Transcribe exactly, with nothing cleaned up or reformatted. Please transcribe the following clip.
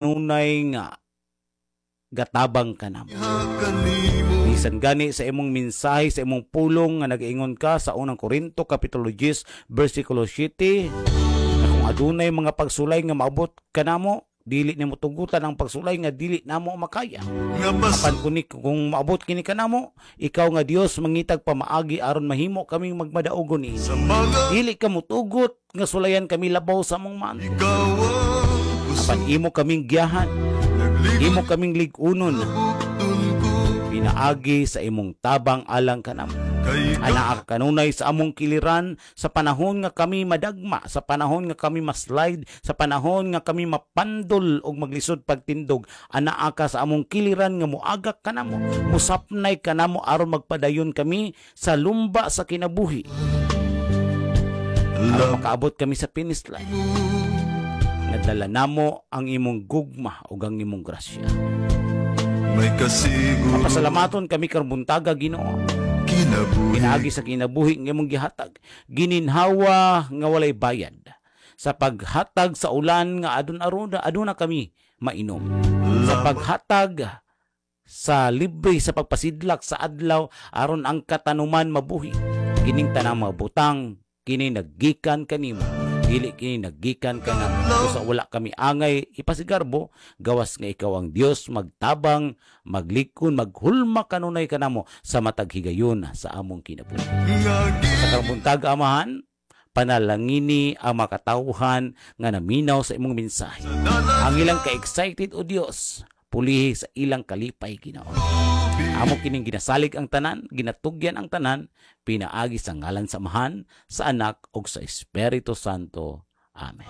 Kanunay nga gatabang kanamo. Kanimo. Bisan gani sa imong mensahe, sa imong pulong nga nagaingon ka sa Unang Korinto kapitulo ten bersikulo siyete na kung adunay mga pagsulay nga maabot kanamo, dili nimo tugutan ang pagsulay nga dili namo makaya. Nga pas Apan kuni kung maabot kini kanamo, ikaw nga Dios mangitag pamaagi aron mahimo kaming magmadaugon niini. Sa mga Dili ka motugot nga sulayan kami labaw sa among maanto. Ikaw ang Apan kusog. Imo kaming giyahan, Nagligon imo kaming lig-unon bukton ko. Pinaagi sa imong tabang alang kanamo. Kay Anaa ka kanunay sa among kiliran sa panahon nga kami madagma, sa panahon nga kami maslide, sa panahon nga kami mapandol og maglisod pagtindog. Anaa ka sa among kiliran nga muagak kanamo, musapnay kanamo aron magpadayon kami sa lumba sa kinabuhi. Aron makaabot kami sa finish line. Nga dala namo ang imong gugma ug ang imong grasya. May kasiguro. Pasalamaton kami karong buntaga, Ginoo. Kinabuhi. Pinaagi sa kinabuhi nga imong gihatag, gininhawa nga walay bayad, sa paghatag sa ulan nga adun aruna aduna kami mainom, sa paghatag sa libre sa pagpasidlak sa adlaw aron ang katanuman mabuhi. Kining tanang mga butang kini naggikan kanimo, dili kini naggikan kanamo. Usa wala kami angay ipasigarbo gawas nga ikaw ang Dios magtabang, maglikon, maghulma kanunay kanamo sa matag higayon sa among kinabuhi. Nga Sa karong buntag, Amahan, panalangini ang makatawhan nga naminaw sa imong mensahe. Ang ilang ka-excited, o Dios, pulihi sa ilang kalipay, Ginoo. Amo kining ginasalig ang tanan, ginatugyan ang tanan, pinaagi sa ngalan sa Amahan, sa Anak ug sa Espiritu Santo. Amen.